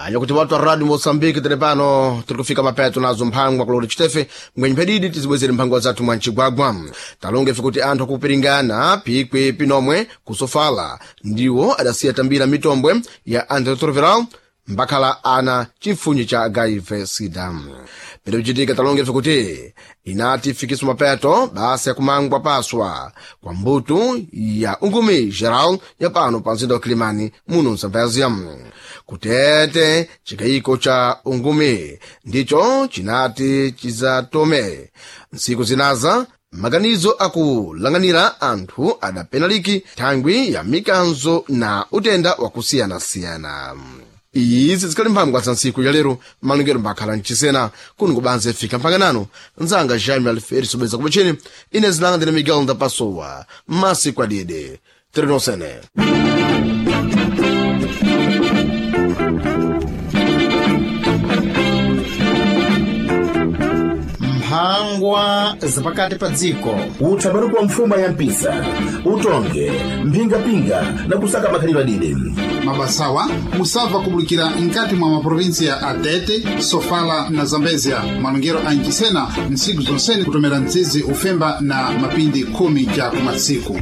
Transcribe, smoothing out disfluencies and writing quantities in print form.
Aja kuti watu wa Radio Mozambique tili pano tiri kufika mapeto nazo mphangwa kuloti chitefe mwenye phedidi tizibwezere mphangwa zathu mwa mchigwagwa. Talonga ife kuti anthu akupiringana pikwi pinomwe kusofala ndiwo adasiya tambira mitombwe ya antiretroviral mbakhala ana chifunyi cha HIV sida. Pene kuchitika talonga ife kuti inati ifikiswa mapeto basa yakumangwa paswa kwa mbuto ya ungumi geral ya pano pa mzinda wa Kilimani muno msambazia. Kutete chikayiko cha ungumi ndicho chinati chizatome ntsiku zinaza maganizo akulanganira anthu adapenaliki thangwi ya mikanzo na utenda wakusiyanasiyana. Izi zikhali mphangwa za ntsiku ya lero malongero mbakhala mchisena kuno kubanza ifika mphanganano nzanga Jaime Alferi sobweza kupacheni ine zinanga ndine Miguel Ndapasowa masiku adide tirenosene. Mphangwa zapakati pa dziko. Utsabaruku wa mfuma ya mpisa utonge mphingapinga na kusaka makhalidwe adide. Mabasawa musabva kubulikira nkati mwa maprovinsiya a Tete, Sofala na Zambezia. Malongero a Nchisena ntsiku zonsene kutomera mtsizi ufemba na mapindi 10 ja kumatsiku.